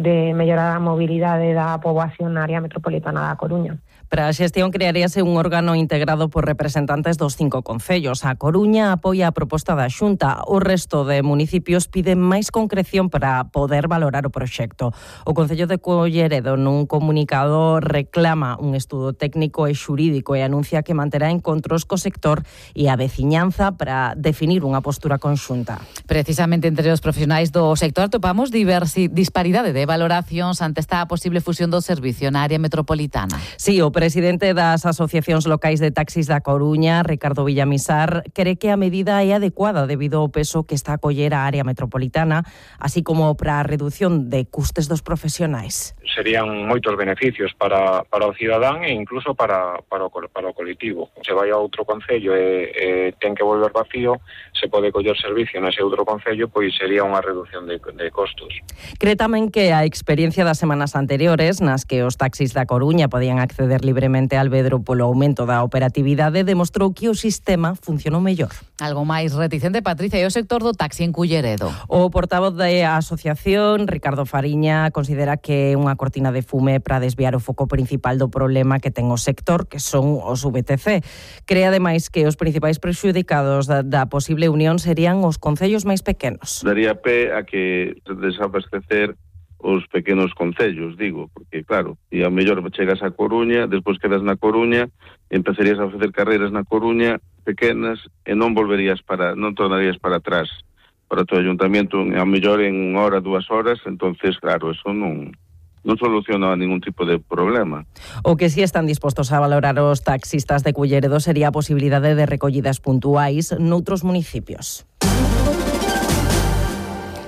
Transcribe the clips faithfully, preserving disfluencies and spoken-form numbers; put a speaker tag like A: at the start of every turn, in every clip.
A: de mellorar a mobilidade da poboación na área metropolitana da Coruña.
B: Para a xestión crearíase un órgano integrado por representantes dos cinco concellos. A Coruña apoia a proposta da Xunta. O resto de municipios piden máis concreción para poder valorar o proxecto. O Concello de Culleredo nun comunicado reclama un estudo técnico e xurídico e anuncia que manterá encontros co sector e a veciñanza para definir unha postura conxunta.
C: Precisamente entre os profesionais do sector topamos diversi, disparidade de valoracións ante esta posible fusión do servicio na área metropolitana.
B: Sí, o presidente das asociacións locais de taxis da Coruña, Ricardo Villamisar, cree que a medida é adecuada debido ao peso que está a coller a área metropolitana, así como para a reducción de custes dos profesionais.
D: Serían moitos beneficios para, para o cidadán e incluso para, para, o, para o colectivo. Se vai a outro concello e, e ten que volver vacío, se pode coller servicio nese outro concello, pois sería unha reducción de, de costos.
B: Cree tamén que a experiencia das semanas anteriores, nas que os taxis da Coruña podían acceder libremente ao Albedro polo aumento da operatividade, demostrou que o sistema funcionou mellor.
C: Algo máis reticente, Patricia, e o sector do taxi en Culleredo.
B: O portavoz da asociación, Ricardo Fariña, considera que é unha cortina de fume para desviar o foco principal do problema que ten o sector, que son os V T C. Cree ademais que os principais prexudicados da, da posible unión serían os concellos máis pequenos.
E: Daría pé a que desabastecer os pequenos concellos, digo, porque claro, e ao mellor chegas a Coruña, despois quedas na Coruña, empezarías a facer carreiras na Coruña pequenas e non volverías para, non tornarías para atrás para o teu ayuntamento, ao mellor en unha hora, dúas horas, entonces claro, eso non non soluciona ningún tipo de problema.
B: O que sí están dispostos a valorar os taxistas de Culleredo sería a posibilidade de recollidas puntuais noutros municipios.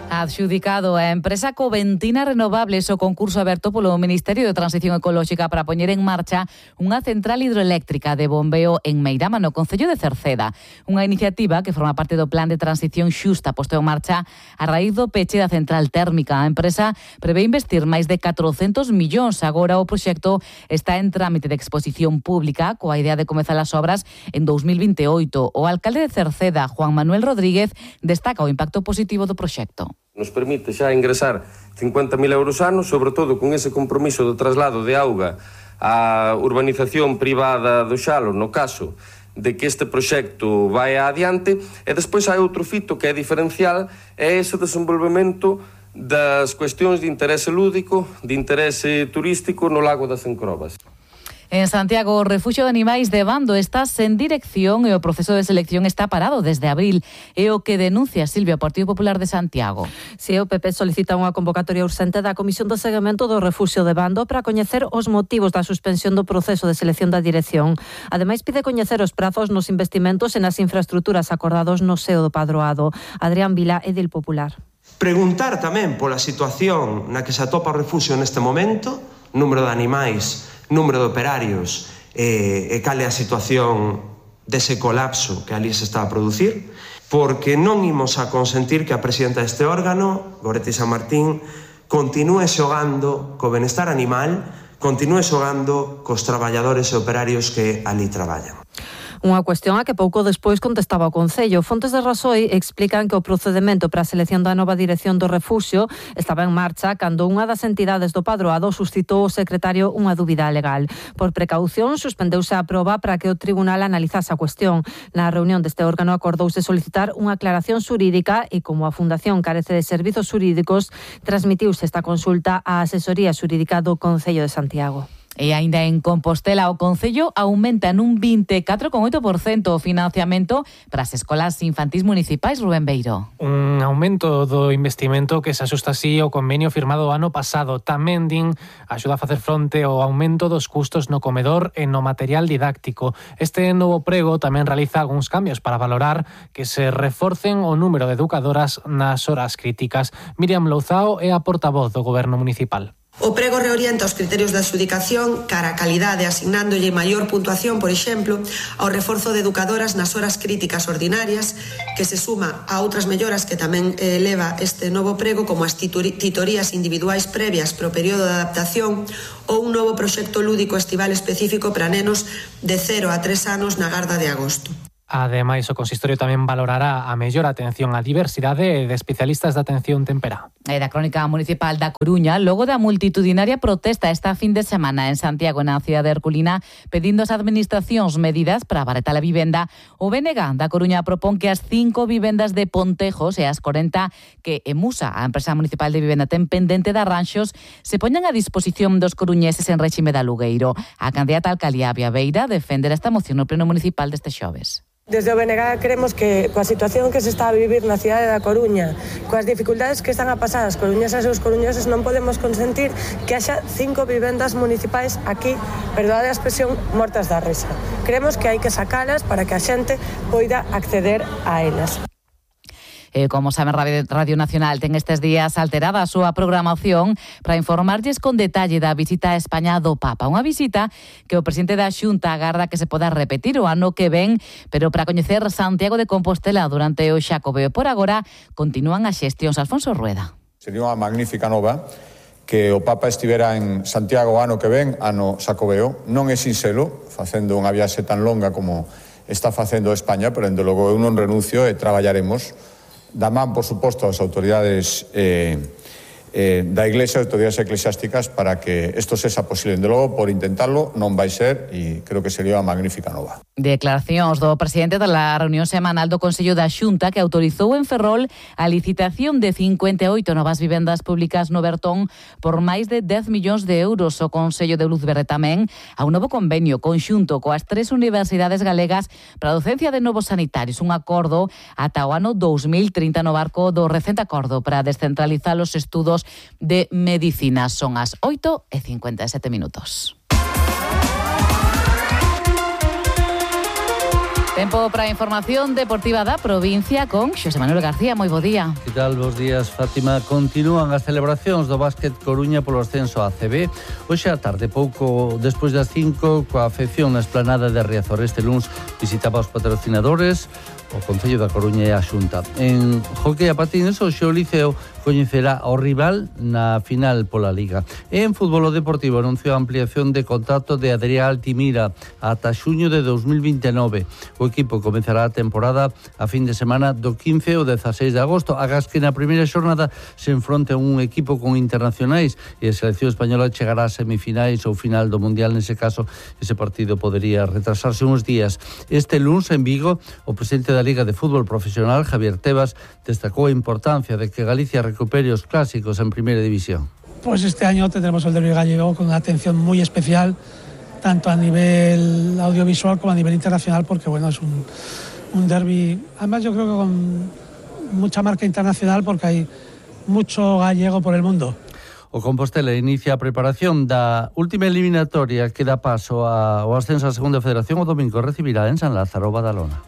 C: Adxudicado a empresa Coventina Renovables o concurso aberto polo Ministerio de Transición Ecolóxica para poñer en marcha unha central hidroeléctrica de bombeo en Meirama, no concello de Cerceda. Unha iniciativa que forma parte do Plan de Transición Xusta posto en marcha a raíz do peche da central térmica. A empresa prevé investir máis de catrocentos millóns. Agora o proxecto está en trámite de exposición pública coa idea de comezar as obras en dous mil vinte e oito. O alcalde de Cerceda, Juan Manuel Rodríguez, destaca o impacto positivo do proxecto.
F: Nos permite xa ingresar cincuenta mil euros ano, sobre todo con ese compromiso do traslado de auga á urbanización privada do Xalo, no caso de que este proxecto vai adiante, e despois hai outro fito que é diferencial, é ese desenvolvemento das cuestións de interese lúdico, de interese turístico no Lago das Encrobas.
C: En Santiago, o Refugio de Animais de Bando está sen dirección e o proceso de selección está parado desde abril. É o que denuncia Silvia, o Partido Popular de Santiago.
G: Si, o P P solicita unha convocatoria urxente da Comisión de Seguimento do Refugio de Bando para coñecer os motivos da suspensión do proceso de selección da dirección. Ademais, pide coñecer os prazos nos investimentos e nas infraestructuras acordados no seo do Padroado. Adrián Vila, edil popular.
H: Preguntar tamén pola situación na que se atopa o refugio neste momento, número de animais, número de operarios e, e cal é a situación dese colapso que ali se está a producir, porque non imos a consentir que a presidenta deste órgano, Goretti San Martín, continúe xogando co benestar animal, continúe xogando cos traballadores e operarios que ali traballan.
G: Unha cuestión a que pouco despois contestaba o Concello. Fontes de Rasoi explican que o procedemento para a selección da nova dirección do refuxio estaba en marcha cando unha das entidades do Padroado suscitou o secretario unha dúbida legal. Por precaución, suspendeuse a proba para que o tribunal analizase a cuestión. Na reunión deste órgano acordouse solicitar unha aclaración xurídica e, como a Fundación carece de servizos xurídicos, transmitiuse esta consulta á asesoría xurídica do Concello de Santiago.
C: E aínda en Compostela, o Concello aumenta nun vinte e catro coma oito por cento o financiamento para as escolas infantís municipais, Rubén Beiro.
I: Un aumento do investimento que se axusta así ao convenio firmado o ano pasado. Tamén din axuda a facer fronte ao aumento dos custos no comedor e no material didáctico. Este novo prego tamén realiza algúns cambios para valorar que se reforcen o número de educadoras nas horas críticas. Miriam Louzao é a portavoz do Goberno Municipal.
J: O prego reorienta os criterios de adxudicación cara a calidade, asignándolle maior puntuación, por exemplo, ao reforzo de educadoras nas horas críticas ordinarias, que se suma a outras melloras que tamén eh, leva este novo prego, como as titorías individuais previas pro período de adaptación ou un novo proxecto lúdico estival específico para nenos de cero a tres anos na Garda de Agosto.
I: Ademais, o consistorio tamén valorará a mellor atención á diversidade de especialistas de atención temperá.
C: E da Crónica Municipal da Coruña, logo da multitudinaria protesta esta fin de semana en Santiago, na cidade herculina, pedindo ás administracións medidas para abaratar a vivenda, o B N G da Coruña propón que as cinco vivendas de Pontejos e as corenta que Emusa, a empresa municipal de vivenda, ten pendente de arranxos, se poñan a disposición dos coruñeses en réxime de alugueiro. A candidata a alcaldía Avia Beira defenderá esta moción no pleno municipal deste xoves.
K: Desde o B N G queremos que, coa situación que se está a vivir na cidade da Coruña, coas dificultades que están a pasar as coruñesas e os coruñeses, non podemos consentir que haxa cinco vivendas municipais aquí, perdoade a expresión, mortas da risa. Creemos que hai que sacalas para que a xente poida acceder a elas.
C: Eh, como saben, Radio Nacional ten estes días alterada a súa programación para informarlles con detalle da visita a España do Papa. Unha visita que o presidente da Xunta agarda que se poda repetir o ano que ven, pero para coñecer Santiago de Compostela durante o Xacobeo. Por agora, continúan as xestións. Alfonso Rueda.
L: Sería unha magnífica nova que o Papa estivera en Santiago o ano que ven, ano Xacobeo. Non é sinxelo, facendo unha viaxe tan longa como está facendo España, pero, dende logo, eu non renuncio e traballaremos da man, por suposto, as autoridades eh, eh, da Iglesia, autoridades eclesiásticas, para que isto sexa posible. De logo, por intentarlo, non vai ser, e creo que sería unha magnífica nova.
C: Declaracións do presidente da reunión semanal do Consello da Xunta, que autorizou en Ferrol a licitación de cincuenta e oito novas vivendas públicas no Bertón por máis de dez millóns de euros. O Consello de Luz Verde tamén a un novo convenio conxunto coas tres universidades galegas para a docencia de novos sanitarios. Un acordo ata o ano dous mil trinta no barco do recente acordo para descentralizar os estudos de medicina. Son as oito e cincuenta e sete minutos. Tempo para a información deportiva da provincia con Xosé Manuel García. Moi bo día.
M: Que tal? Bos días, Fátima. Continúan as celebracións do básquet Coruña polo ascenso á A C B. Hoxe á tarde, pouco despois das cinco, coa afección na esplanada de Riazor. Este luns visitaba os patrocinadores, o Concello da Coruña e a Xunta. En hockey a patines, hoxe o Liceo coñecerá ao rival na final pola Liga. E en fútbol o Deportivo anunciou a ampliación de contrato de Adrián Altimira ata xuño de dos mil vinte e nove. O equipo comezará a temporada a fin de semana do quince ao dezaseis de agosto, agás que na primeira xornada se enfronte un equipo con internacionais e a selección española chegará a semifinais ou final do Mundial. Nese caso, ese partido podería retrasarse uns días. Este luns en Vigo, o presidente da Liga de Fútbol Profesional, Javier Tebas, destacou a importancia de que Galicia recupere os clásicos en Primeira División.
N: Pues este año tendremos el derbi gallego con una atención muy especial, tanto a nivel audiovisual como a nivel internacional, porque bueno, es un, un derbi, además yo creo que con mucha marca internacional, porque hay mucho gallego por el mundo.
M: O Compostela inicia a preparación da última eliminatoria que dá paso ao ascenso á Segunda Federación. O domingo recibirá en San Lázaro Badalona.